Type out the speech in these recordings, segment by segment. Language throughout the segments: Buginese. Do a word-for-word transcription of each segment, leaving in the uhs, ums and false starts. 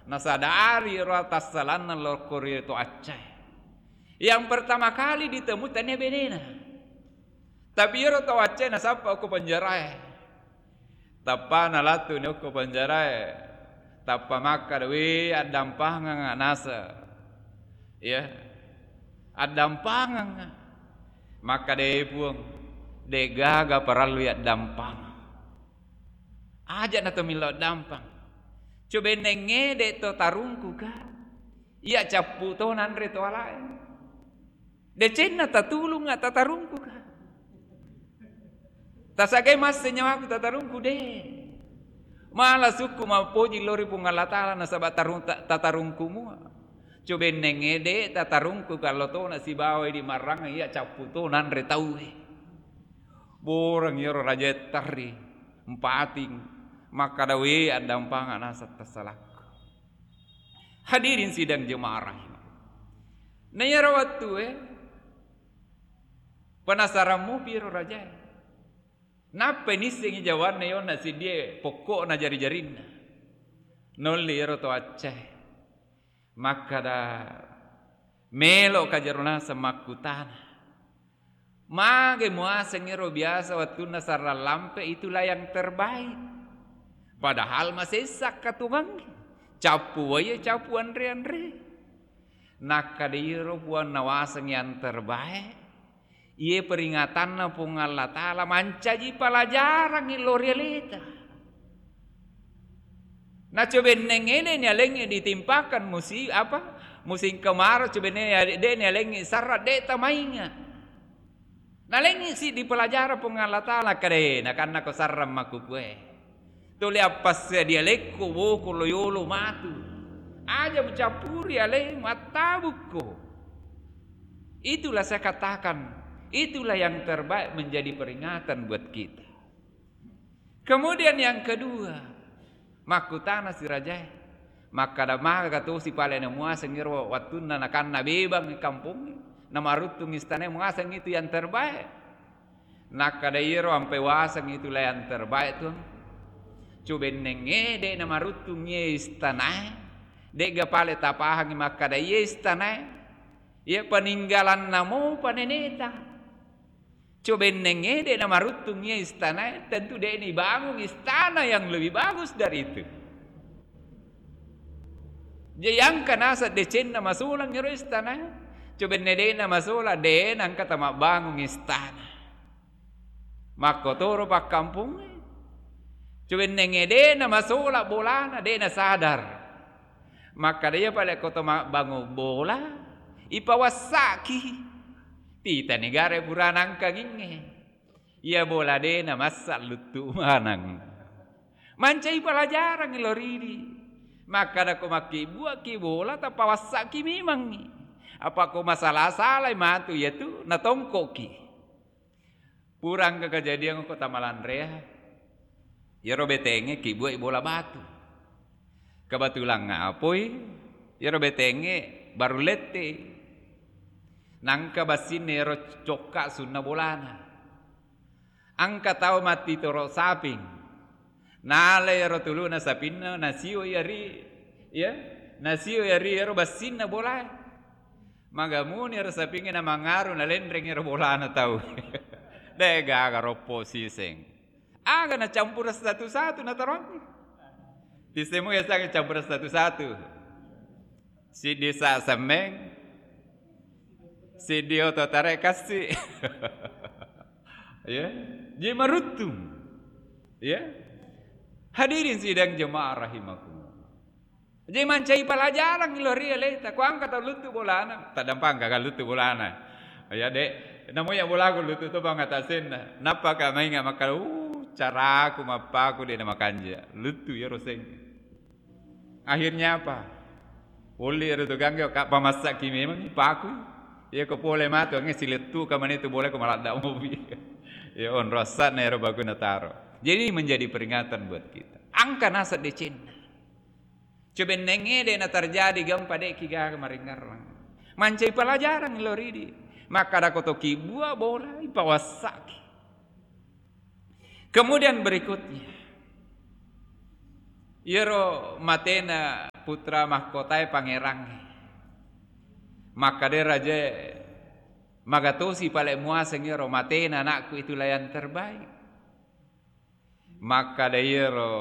Nasadari ro tassalanna lokko ri to accae. Yang pertama kali ditemu tania benena. Tapi iyaro to accae nasappa okko penjarae. Tappa nalattu ni okko penjarae. Tappa makkada, "We, addampangeng nasa." Ya. Addampangeng. Makkada, "E Puang, de gaga parallu yaddampangeng." Aja na to millau dampang. Coba ennengnge de to tarungku ka. Iya cappu to nanre to alae. Decenna tatulunga tatarungku ka. Tasagai masse nyawaku tatarungku de. Mala sukku mappoji lori Puang Allah Ta'ala nasaba tarung-, ta-, tatarungku mua. Coba ennengnge de tatarungku ka lo tona sibawa di marrang iya cappu to nanre tauwe. Boreng iyaro raja tarri, mpating, makkada, "We, addampanga naseng tassalakku." Hadirin sidang jemaah rahimah. Na iyaro wettue, penasaran mupi iyaro rajae. Nappai nissengi jawanna yonna siddie pokko'na jari-jarinna. Nolli iyaro to accae. Makkada, "Melo ka jero naseng makkutana. Mage muaseng ero biasa wettunna sarrang lampe itulah yang terbaik. Padahal masessa katungangnge. Cappu wae, cappu anre-anre." Nakkada iyaro puang nawaseng yang terbaik. Iye peringatanna Puang Allah Ta'ala mancaji pelajarangngi lo ri aleta. Na coba ennengnge de nialengngi ditimpakan musi-, apa, musim kemarau, coba ennengnge de nialengngi sarra, de tamainga. Nalengngi siddi pelajaran Puang Allah Ta'ala, kade nakanna ko sarra makkukue. Tuli appassadialekko woko lo yolo matu. Aja mucappuri alemu, attabukko. Itulah saya katakan, itulah yang terbaik menjadi peringatan buat kita. Kemudian yang kedua, makkutana si rajae, makkada, "Maga tosi pale namuaseng ero wattunna nakanna bebang kampongnge, namaruttung istanae muaseng itu yang terbaik?" Nakkada, "Iyaro ampe waseng itu la yang terbaik, Tuang. Coba ennengnge de namaruttung iye istanae, de'ga pale tapahangi makkada iye istanae, iya peninggalanna mopa neneta. Coba ennengnge de namaruttung iye istanae, tentu de nibangun istana yang lebih bagus dari itu." Jadi engka naseng decenna masolang ero istana. Coba enne de namasolang, de nengka tamabbangung istana. Makkotoro pakkampungnge. Coba ennengnge de namasolang bolana, de nasadar. Makkada, "Iya pale ko to mabbangung bola, ipawassaki. Tita negara purana engkangingnge. Iya bola de namassa luttu maneng." Mancai pelajaran lo ridi. Makkada ko makkibbuaki bola, tapawassaki memangngi. Apa ko masala-salai matu iyatu natongkoki. Pura engka kejadian ko tamalanrea. Iyaro betengnge kibbuai bola batu. Kebetulan ngapoi, iyaro betengnge baru lette. Nangka bassinna iyaro cokka sunna bolana. Engka tau mattitoro saping. Nala iyaro tuluna sapinna, nasio iya ri, ya, nasio iya ri iyaro bassinna bolae. Magamuni ero sapingnge namangaru, nalenreng ero bolana tau. De gaga roppo siseng. Aga nacampura satu-satu nataroangngi. Tissemo yasengnge campura satu-satu. Siddi sa semmeng, siddi oto tare kassi. Ya, je maruttung. Ya. Hadirin sidang jemaah rahimakumullah. Jadi mancai pelajaran lo ri aleta. Ko engka tau luttu bolana, tadampang gaga luttu bolana. Ya, Dek, namo ya bolaku luttu to bang atasenna. Nappa ka mainga makkada, "Uh, caraku mappaku de namakanja." Luttu iyaro seng. Akhirnya apa? Ulli ero tu gangge ka pamassaki memang paku. Iya ko pole matu ange silettu ka mane tu bola ko maladda mopi. Ya onro asana ero bagus nataro. Jadi menjadi peringatan buat kita. Engka naseng decenna. Coba ennengnge de na terjadi gempa, de ki gaga maringerrang. Mancai pelajaran lo ridi. Makkada ko to kibbua bola, ipawassaki. Kemudian berikutnya, iyaro matena putra mahkotae pangerangnge. Makkeda rajae, "Magatosi pale muaseng ero matena anakku, itulah yang terbaik." Makkeda iyaro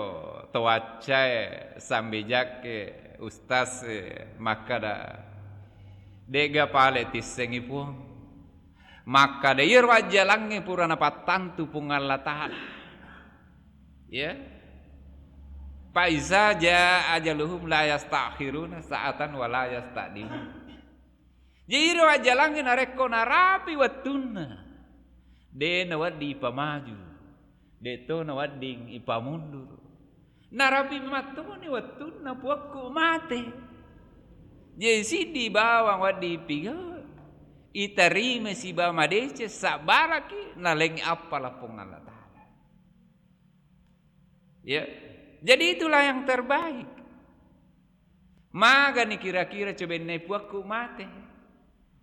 to waccae, sambijakke, ustaz e, makkeda, "De'ga pale tissengi Puang." Makkeda iyaro ajjalangnge pura napattantu Puang Allah Ta'ala. Ya. "Fa iza jaa ajaluhum la yastakhiruna sa'atan wa la yastaqdimun." Jadi iro ajjalangnge narekko narapi wettunna, de nawedding ipamaju, de to nawedding ipamundur. Narapi mattoni wettunna puakku mate. Jadi siddi bawang wedding ipigau, iterima sibawa madeceng, sabbaraki, nalengngi appala Puang Allah Ta'ala. Ya. Jadi itulah yang terbaik. Magani kira-kira cobenne puakku mate?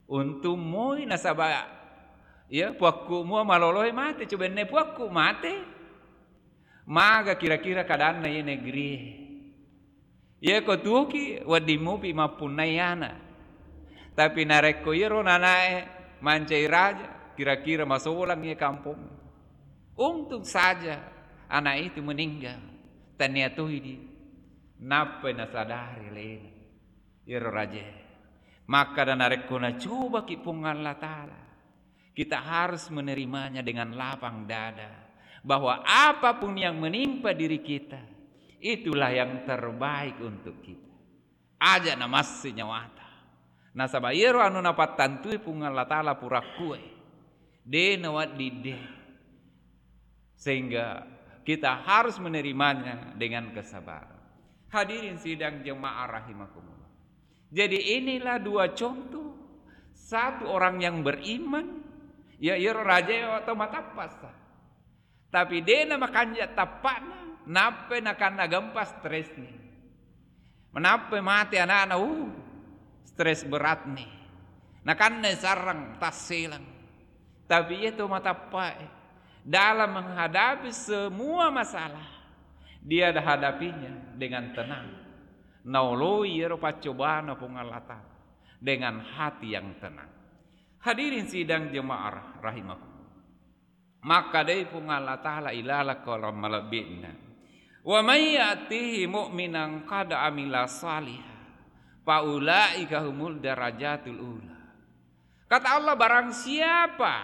Untung moi nasaba, ya, puakku mua maloloe mate, cobenne puakku mate. Maga kira-kira kadanna ye negeri? Ye ko tuoki wedding mupi mappunnai ana. Tapi narekko iyero nanae mancai raja, kira-kira masolang ye kampong. Untung saja anak itu meninggal, tania toidi. Nappai nasadari alena iyero rajae. Makkada narekko nacobaki Puang Allah Ta'ala, kita harus menerimanya dengan lapang dada, bahwa apapun yang menimpa diri kita, itulah yang terbaik untuk kita. Aja namassi nyawata. Nasaba iyero anu napattantui Puang Allah Ta'ala purakkue. De nawedding de. Sehingga kita harus menerimanya dengan kesabaran. Hadirin sidang jemaah rahimakumullah. Jadi inilah dua contoh. Satu orang yang beriman, ya iyero rajae tau matappa sa. Tapi de namakanja tappana, nappai nakanna gempa stresni. Menappai mate anakna, uh, stres beratni. Nakanna sarang tasselang. Tapi iya to matappae, dalam menghadapi semua masalah, dia hadapinya dengan tenang. Naoloi iyero paccobana Puang Allah Ta'ala dengan hati yang tenang. Hadirin sidang jemaah rahimakumullah. Makkadai Puang Allah Ta'ala ilaleng korang malebbi'na, "Wa may ya'tihi mu'minan qad amila shaliha, fa ulaika humul darajatul ula." Kata Allah, barang siapa,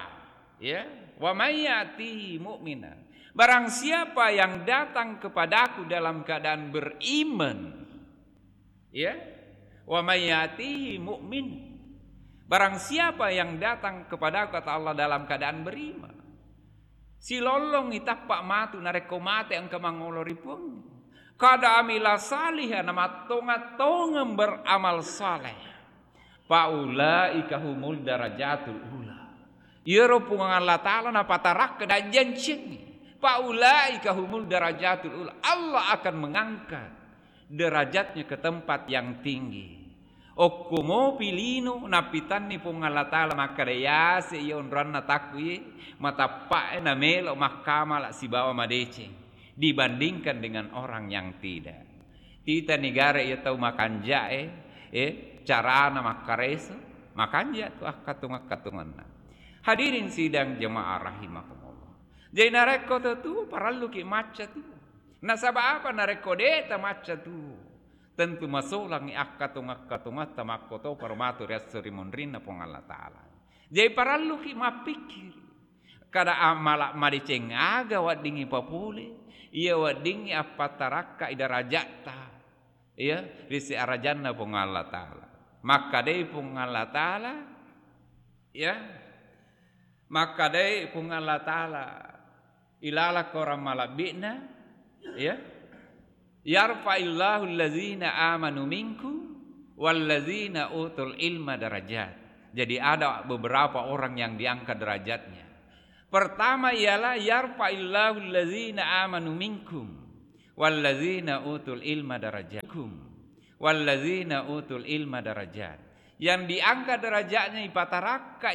ya, "Wa may ya'tihi mu'minan," barang siapa yang datang kepadaku dalam keadaan beriman, ya, "Wa may ya'tihi mu'min." Barang siapa yang datang kepadaku, kata Allah, dalam keadaan beriman. Silollong itappa matu narekko mate engka mangolo ri Puang. Qad amila shaliha, namattonga-tongeng beramal saleh. Fa ulaika humul darajatul ula. Iyaro Puang Allah Ta'ala napatarakka dajjancengngi. Fa ulaika humul darajatul ula. Allah akan mengangkat derajatnya ke tempat yang tinggi. Okko mopi lino napitanni Puang Allah Ta'ala makkada, yase iya onroanna takku ye, matappae namelo makkamala sibawa madeceng dibandingkan dengan orang yang tidak. Tita negara iya tau makanjae, eh, carana makkareso, makanja tu akkatung-akkatunganna. Hadirin sidang jemaah rahimakumullah. Jadi narekko to tu parelluki macca tu. Nasaba apa? Narekko de tamacca tu, tentu masolangi akkatung-akkatungatta makkotoparo matu ri esso ri munrinna Puang Allah Ta'ala. Jadi parelluki mappikkiri. Kada amala madeceng aga weddingngi papole, iya weddingngi appattarakkai darajatta, iya, ri siarajanna Puang Allah Ta'ala. Makkadai Puang Allah Ta'ala, ya, makkadai Puang Allah Ta'ala ilaleng korang malebbi'na, ya, "Yarfa'illahu allazina amanu minkum wallazina utul ilma darajat." Jadi ada beberapa orang yang diangkat derajatnya. Pertama ialah, "Yarfa'illahu allazina amanu minkum wallazina utul ilma darajat." Minkum wallazina utul ilma darajat. Yang diangkat derajatnya ipatarakka